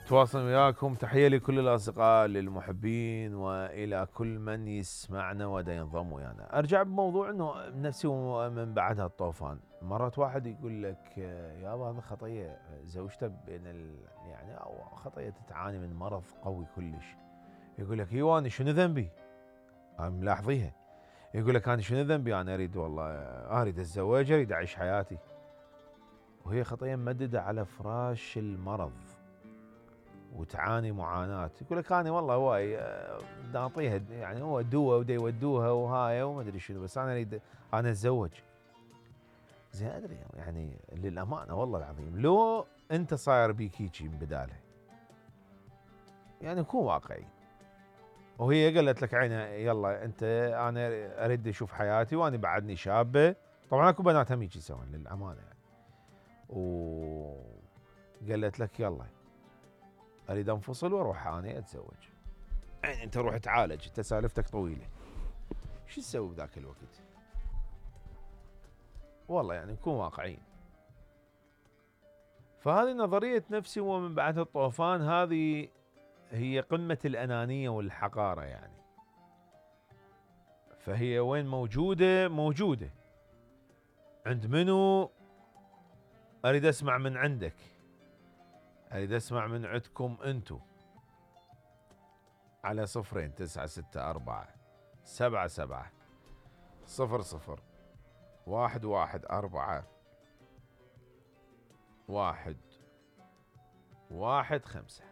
تواصل وياكم. تحية لكل الأصدقاء للمحبين وإلى كل من يسمعنا ودا ينضم ويانا. أرجع بموضوع أنه نفسي ومن بعدها الطوفان. مرات واحد يقول لك يابا هذا خطية زوجته بين يعني أو خطية تعاني من مرض قوي كلش. يقول لك ايوه أنا شنو ذنبي؟ أنا ملاحظيها. يقول لك أنا شنو ذنبي؟ أنا أريد والله أريد أتزوج أريد أعيش حياتي. وهي خطية ممددة على فراش المرض وتعاني معاناة. يقول لك أنا والله هواي نعطيها يعني هو دواء ودا يودوها وهاي وما أدري شنو بس أنا أريد أنا أتزوج. زين أدري يعني للأمانة والله العظيم لو أنت صاير بيك هيجي من بدالها يعني كون واقعي. وهي قالت لك عينها يلا أنت أنا أريد أشوف حياتي وأنا بعدني شابة. طبعا أكو بنات هم يجي يسوون للأمانة يعني. وقالت لك يلا اريد انفصل واروح انا اتزوج. يعني انت روح تعالج انت سالفتك طويله. شو تسوي بذاك الوقت؟ والله يعني نكون واقعيين. فهذه نظريه نفسي ومن بعد الطوفان هذه هي قمه الانانيه والحقاره يعني. فهي وين موجوده؟ موجوده عند منو؟ اريد اسمع من عندك. اريد اسمع من عندكم انتو على 0 9 6 4 7 0 0 1 1 1 5.